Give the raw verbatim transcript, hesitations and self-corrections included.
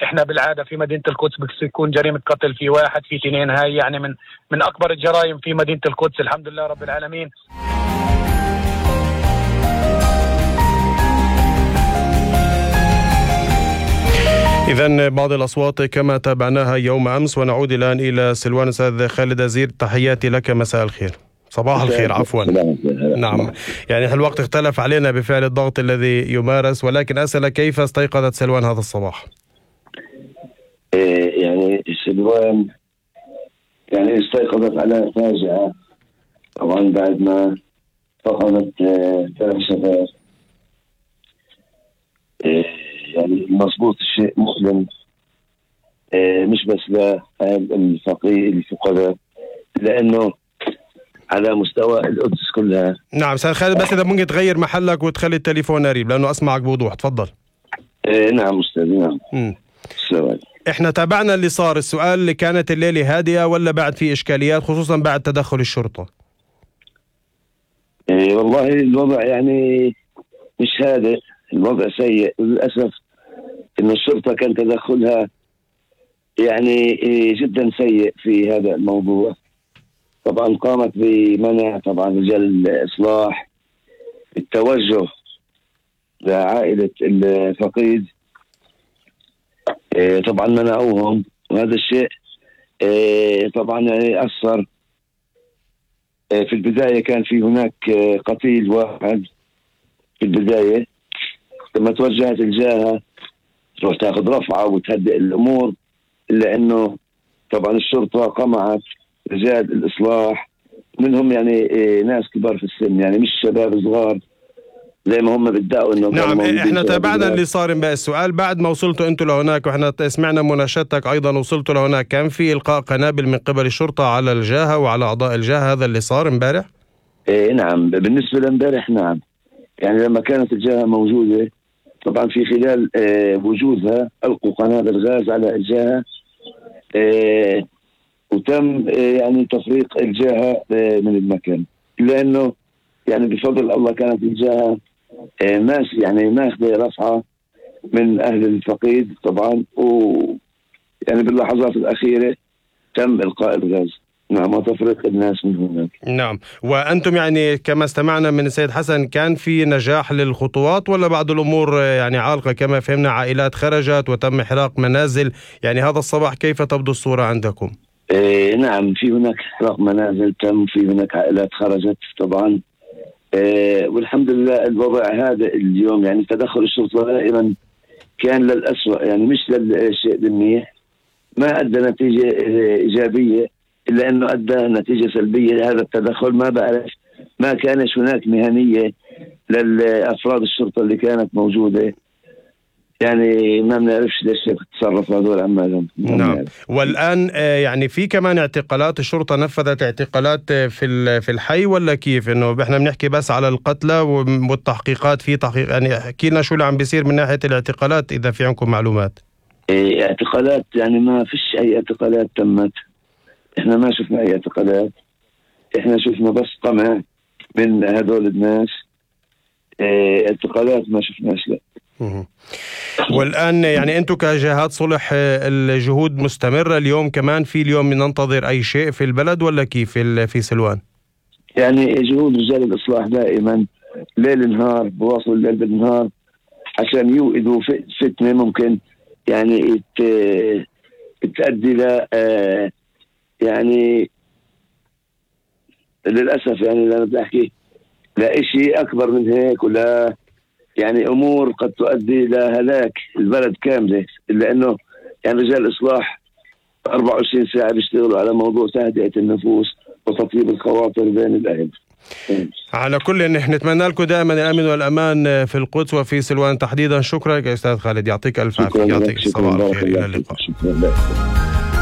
احنا بالعاده في مدينه القدس بيكون جريمه قتل في واحد في اثنين، هاي يعني من من اكبر الجرائم في مدينه القدس، الحمد لله رب العالمين. إذن بعض الأصوات كما تابعناها يوم أمس. ونعود الآن إلى سلوان. أستاذ خالد أزير، تحياتي لك، مساء الخير، صباح الخير عفوا. نعم، يعني الوقت اختلف علينا بفعل الضغط الذي يمارس، ولكن أسأل كيف استيقظت سلوان هذا الصباح؟ يعني سلوان يعني استيقظت على فاجعة طبعا بعد ما فقدت ثلاث شباب. يعني مضبوط الشيء مؤلم، مش بس للفقير الفقراء، لأنه على مستوى القدس كلها. نعم أستاذ خالد، بس إذا ممكن تغير محلك وتخلي التليفون قريب لأنه أسمعك بوضوح، تفضل. نعم أستاذ. نعم. السلام. احنا تابعنا اللي صار. السؤال، اللي كانت الليلة هادئة ولا بعد في إشكاليات خصوصا بعد تدخل الشرطة؟ إيه والله الوضع يعني مش هادئ، الوضع سيء للأسف. إن الشرطة كان تدخلها يعني جدا سيء في هذا الموضوع. طبعا قامت بمنع طبعا رجال الإصلاح، التوجه لعائلة الفقيد، طبعا منعوهم، وهذا الشيء طبعا يعني أثر. في البداية كان في هناك قتيل واحد في البداية، لما توجهت الجهة تروح تاخذ رفعة وتهدئ الأمور، إلا أنه طبعا الشرطة قمعت رجال الإصلاح، منهم يعني ناس كبار في السن، يعني مش شباب صغار زي ما هم بدعوا انه. نعم احنا تابعنا اللي صار. بقى السؤال، بعد ما وصلتوا انتوا لهناك، واحنا سمعنا مناشدتك ايضا، وصلتوا لهناك، كان في القاء قنابل من قبل الشرطة على الجهة وعلى اعضاء الجهة؟ هذا اللي صار امبارح؟ ايه نعم، بالنسبة لامبارح نعم. يعني لما كانت الجهة موجودة طبعا في خلال اه وجودها القوا قنابل غاز على الجهة، اه وتم اه يعني تفريق الجهة اه من المكان، لانه يعني بفضل الله كانت الجهة اه ماس يعني ماخذة رفعة من اهل الفقيد طبعا، و يعني باللحظات الاخيرة تم القاء الغاز، نعم، وتفريق الناس من هناك. نعم. وأنتم يعني كما استمعنا من السيد حسن، كان في نجاح للخطوات ولا بعض الأمور يعني عالقة؟ كما فهمنا عائلات خرجت وتم إحراق منازل، يعني هذا الصباح كيف تبدو الصورة عندكم؟ إيه نعم، في هناك إحراق منازل تم، في هناك عائلات خرجت طبعا. إيه والحمد لله الوضع هذا اليوم، يعني تدخل الشرطة دائما كان للأسوأ، يعني مش للشيء المنيح، ما أدى نتيجة إيجابية، إلا أنه أدى نتيجة سلبية. هذا التدخل ما بعرف، ما كانش هناك مهنية للأفراد الشرطة اللي كانت موجودة، يعني ما بنعرفش ليش تصرف هذول عمالهم. نعم. والآن يعني في كمان اعتقالات، الشرطة نفذت اعتقالات في في الحي ولا كيف؟ إنه إحنا بنحكي بس على القتلى والتحقيقات، في تحقيق يعني؟ احكي لنا شو اللي عم بيصير من ناحية الاعتقالات إذا في عندكم معلومات. إيه اعتقالات يعني ما فيش أي اعتقالات تمت، احنا ما شفنا اي اعتقالات، احنا شفنا بس قمع من هذول الناس. اه اعتقالات ما شفناش لا. والآن يعني انتم كجهات صلح الجهود مستمرة اليوم كمان؟ في اليوم ننتظر اي شيء في البلد ولا كيف في في سلوان؟ يعني جهود رجال الإصلاح دائما ليل نهار، بواصلوا الليل بالنهار عشان يوقدوا فتنة ممكن يعني تؤدي ل اه يعني للأسف يعني أنا بدي أحكي لا شيء أكبر من هيك، ولا يعني أمور قد تؤدي إلى هلاك البلد كاملة، إلا أنه يعني رجال الإصلاح أربعة وعشرين ساعة بيشتغلوا على موضوع تهدئة النفوس وتطيب الخواطر بين الأهل. على كل نحن نتمنى لكم دائما الأمن والأمان في القدس وفي سلوان تحديدا. شكرا يا أستاذ خالد، يعطيك ألف عافية، يعطيك صباح الخير، إلى اللقاء.